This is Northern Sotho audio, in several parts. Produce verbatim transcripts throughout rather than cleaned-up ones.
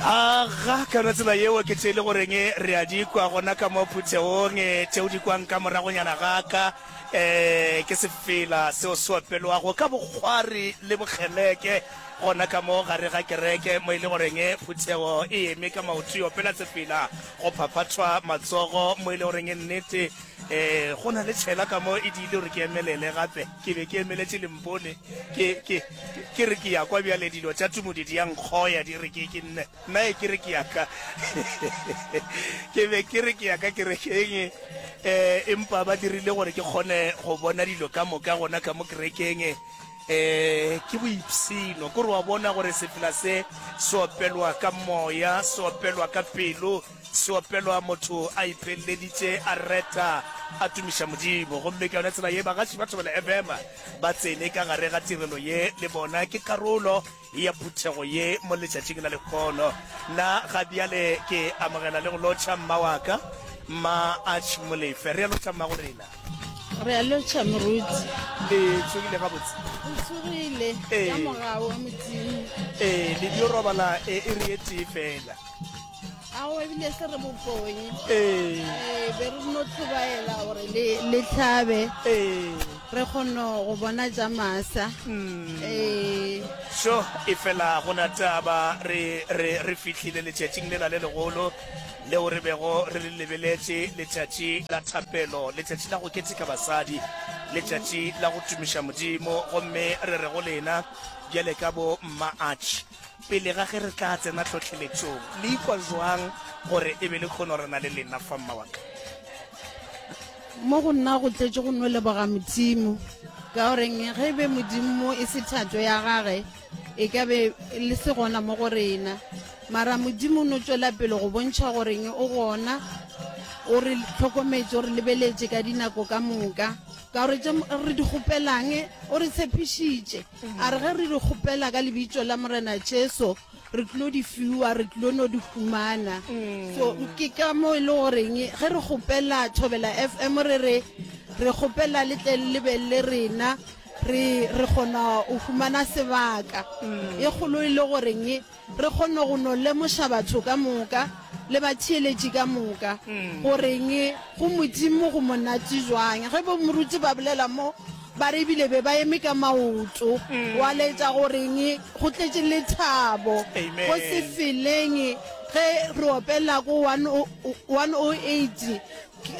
Aga, ka yona tsela yeo ke tše e le goreng re a di kwa gona ka mo phuthegong, tšeo di kwang ka moragonyana ga ka, um ke sefela seo se opelwago ka bokgwari le bokgeleke gona ka mo gare ga kereke, mo e le goreng phuthego e eme ka maoto e opela sefela, go phaphathwa matsogo, mo e le goreng nnete um go na le tšhela ka mo e diile gore ke emelele gape. Ke be ke emeletše lempone, ke, ke, ke re ke ya kwa bjale dilo tša tumodi di ya nkgoya, di re ke, ke nne, nna e ke re ke ya ka. Ke be ke re ke ya ka kerekeng, um empa ba dirile gore ke kgone go bona dilo ka moka gona ka mo kerekeng. Um ke boipshino, ke gore wa bona gore sefela se se opelwa ka moya, se opelwa ka pelo, se opelwa motho a ipheleleditše, a reta, a tumiša Modimo. Gomme ka yona tsela ye bagaši ba Thobela F M ba tsene ka gare ga tirelo ye le bona, ke karolo ya phuthego ye mo letšatšing la lehono. Nna ga bjale ke amogela le go lotšha mma wa ka, Mma Arch Molefe. Re a lotšha mma go rena. Re a lotšha moruti. Le tsogile gabotse? Re tsogile ka mogau wa Modimo. Ee, le dio robala e iri e tee fela. Ao, ebile se re boponye. Ee. Ee, be re no tlhobaela gore le, le hlabe. Ee. Re kgone go bona tša masa. Mm. Ee. Sho, e fela go na taba, re, re, re fihlile letšatšing lela le legolo leo re bego re le lebeletše, letšatši la thapelo, letšatši la go keteka basadi, letšatši la go tumiša Modimo. Gomme re re go lena bjale ka bo Mma Arch, pele ga ge re tla tsena tlhohleletšong, le ikwa jwang gore e be le kgono re na le lena fa, mma wa ka? Mo go nna go tletše go no leboga Modimo, ka goreng ge e be Modimo e se thato ya gage, e ka be le se gona mo go rena. Mara Modimo o no tšwela pele go bontšha goreng o gona, o re hlokometše, o re lebeletše ka dinako ka moka. Ka gore tše re di kgopelang o re tshepišitše, a re ge re di kgopela ka lebitso la Morena Jesu, re tlo di fiwa, re tlo no di humana. So ke ka mo e le goreng ge re kgopela Thobela F M re re re kgopela le tle le be le rena, re, re kgona go humana sebaka. E kgolo e le goreng re kgone go no lemoša batho ka moka le batheeletši ka moka goreng go Modimo go monate jwang. Ge bo moruti ba bolela mo, ba re ebile be ba eme ka maoto, wa laetša goreng go tletše lethabo go se feleng. Ge re opela ko one oh eight,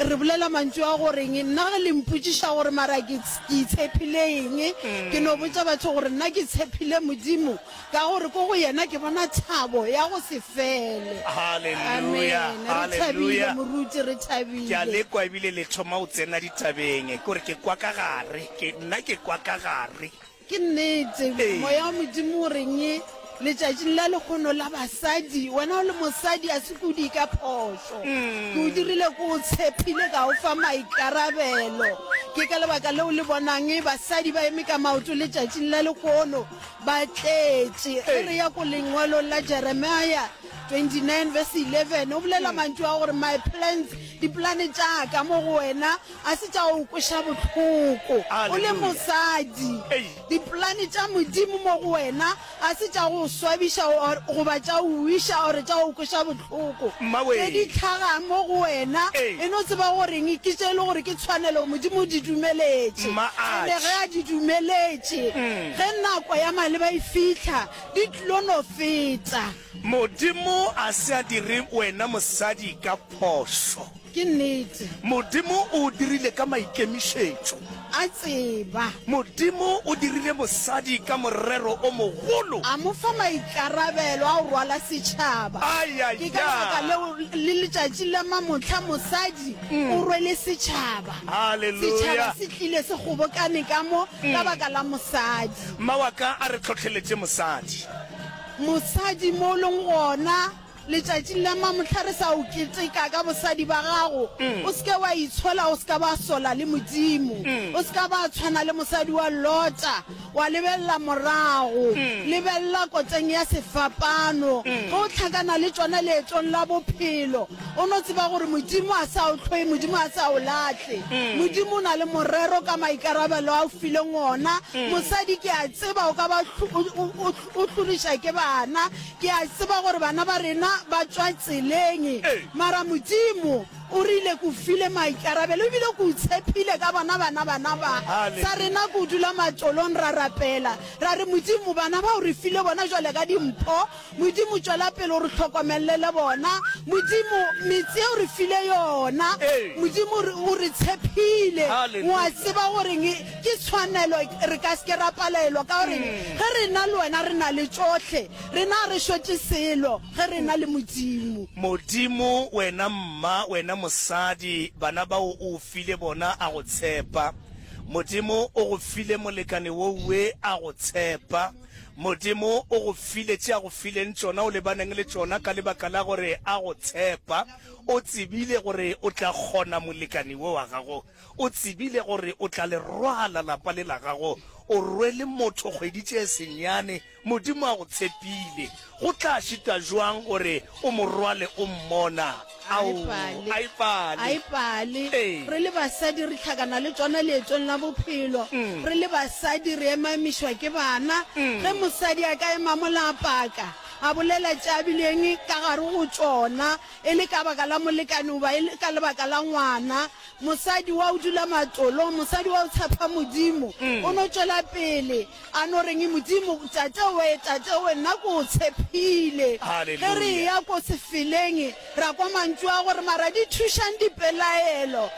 re bolela mantšu a goreng nna ge le mpotšiša gore mara ke itshepile eng, ke no botša batho gore nna ke tshepile Modimo, ka gore ko go yena ke bona thabo ya go se fele. Hallelujah, Amen. Re thabile hallelujah. moruti, re Ke a thabile. lekwa ebile le thoma go tsena ditabeng, ke gore ke kwa ka gare, ke nna ke kwa ka gare. Ke nnete, Ee. moya wa Modimo o reng letšatšing la lekgono la basadi, wena o le mosadi a se kudi ka phošo. Ke o dirile ke o tshepile, ka o fa maikarabelo. Ke ka lebaka leo le bonang basadi ba eme ka maoto letšatšing la lekgono, ba tletše. Ge re ya ko lengwalong la Jeremiah twenty-nine verse eleven, o bolela mantšu a gore my plans, dipolane tša ka mo go wena a se tša go kweša bohloko. O le mosadi, dipolane tša Modimo mo go wena a se tša go swabiša goba tša go wiša or tša go kweša bohloko. Tše di tlhagang mo go wena, e no tseba goreng ke tše e le gore ke tshwanelo Modimo o di dumeletše. Ene ge a di dumeletše, ge nako ya maleba e fihla, di tlo no feta. Modimo a se a dire wena mosadi ka phošo. Ke nnete. Modimo o o dirile ka maikemišetšo. A tseba. Modimo o dirile mosadi ka morero o mogolo. A mo fa maikarabelo a go rwala setšhaba. Ai, Ke ka lebaka leo le letšatši la mamohla mosadi o rwele setšhaba. Haleluya. Setšhaba se tlile se kgobokane ka mo ka baka la mosadi. Mma wa ka a re hlohleletše mosadi. Mosadi mo o leng gona, Letšatšing la mamohla re sa o keteka ka bosadi ba gago, o se ke wa itshola, o se ka ba sola le Modimo. O se ka ba tshwana le mosadi wa Lota, wa lebelela morago. Lebelela koteng ya sefapano. Ge o hlakana le tšona leetong la bophelo, o no tseba gore Modimo a sa o hloye, Modimo a sa o lahle. Modimo o na le morero ka maikarabelo a o fileng ona. Mosadi, ke a tseba o ka ba o, o, o hloriša ke bana. Ke a tseba gore bana ba rena ba tšwa tseleng. Mara Modimo o rile ke o file maikarabelo ebile ke o tshepile ka bona bana bana ba. Sa rena ke o dula matolong ra rapela ra re Modimo bana ba o re file bona jwale ka dimpho. Modimo tšwela pele o re hlokomelele bona. Modimo metse o re file yona. Modimo o re tshepile. Wa tseba gore ke tshwanelo re ka se ke ra palelwa ka gore ge re na le wena re na le tšohle. Rena ga re šote selo ge re na le Modimo. Modimo, wena mma, wena mosadi, bana bao o file bona a go tshepa. Modimo o go file molekane wowe a go tshepa. Modimo o go file tše a go fileng tšona, o lebaneng le tšona ka lebaka la gore a go tshepa. O tsebile gore o tla kgona molekane wo wa gago. O tsebile gore o tla le rwala lapa le la gago. O rwele motho kgwedi tše senyane. Modimo a go tshepile. Go tla šita jwang gore o mo rwale o mmona? Ao, a e pale. A e pale. Re le basadi re hlakana le tšona leetong la bophelo. Re le basadi re emamišwa ke bana. Ge mosadi a ka ema mola a paka, a bolela tše a bileng ka gare go tšona, e le ka baka la molekane goba e le ka lebaka la ngwana, mosadi wa o dula matolong, mosadi wa o tshepa Modimo, o no tšwela pele a no reng, Modimo, Tate we, Tate we, nna ke o tshepile. Ge re eya ko sefeleng, ra kwa mantšu a gore, Mara di thušang dipelaelo?